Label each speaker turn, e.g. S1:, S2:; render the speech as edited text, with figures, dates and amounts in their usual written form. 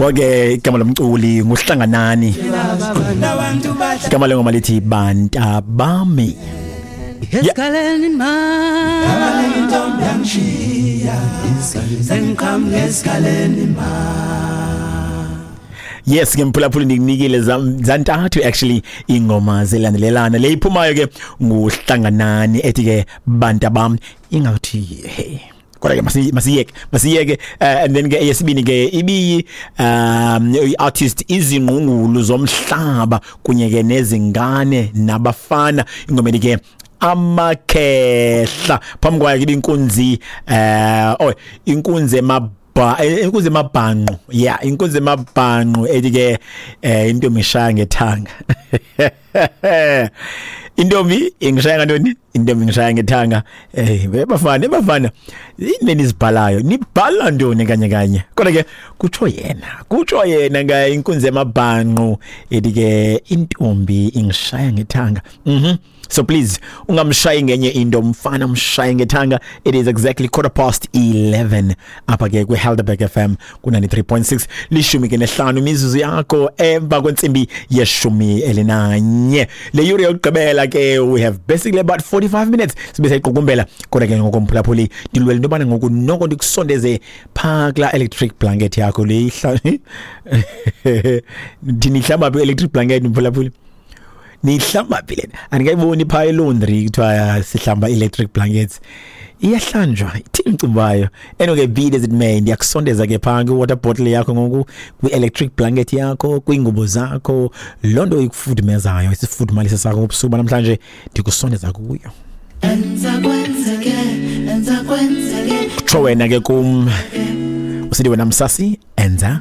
S1: Wake igama lomculi nguHlanganani. Igama lengoma lithi Bantabami.
S2: Esikaleni ma
S3: intombi yangishiya sengiqhamuka esikaleni ma.
S1: Yes ke mphulaphuli, ndikunikile zantathu actually ingoma zelandelelana. Le iphumayo ke nguHlanganani ethi ke Bantabami, ingathi hey, kodwa ke masiyeke and then ke eyesibini ke ibiyi i-artist Izingqungulu Zomhlaba kunye ke nezingane nabafana, ingoma ethi ke Amakhehla. Phambi kwayo ke ibinkunzi oh, inkunzi emabhanqo, yeah, inkunzi emabhanqo ethi ke intombi ishaya ngethanga. Intombi ingishaya ngantoni? Intombi ingishaya ngethanga. Bafana, bafana, yini nizibhalayo? Nibhala ntoni kanye kanye? Kodwa ke kutsho yena nga inkunzi emabhanqo ethi ke intombi ingishaya ngethanga. So please ungamshayi ngenye into mfana, umshaye ngethanga. It is exactly 11:15 apha ke kwi-Helderberg FM ku-93.6, 15 imizuzu yakho emva kwentsimbi ye-11. Le yure yokugqibela ke, we have basically about 45 minutes sibe sayiqukumbela. Kodwa ke ngokomphulaphuli, ndilwela into yobana ngoku noko ndikusondeze phaa kulaa electric blanket yakho le ihla. Ndini ihlamba phi electric blanket, mphulaphuli? Nihlamba phi lena? Andikayiboni phaa e-laundry kuthiwa sihlamba electric blankets. Iyahlanjwa? Ithini umcimbi wayo? Anyway, be it as it may, ndiyakusondeza ke phaa kwi-water bottle yakho ngoku, kwi-electric blanket yakho, kwiingubo zakho, loo nto ikufudumezayo, isifudumalise sakho ngobusuku banamhlanje, ndikusondeza kuyo.
S3: Enza kwenzeke, enza kwenzeke.
S1: Kutsho wena ke kum, usithi wena msasi enza.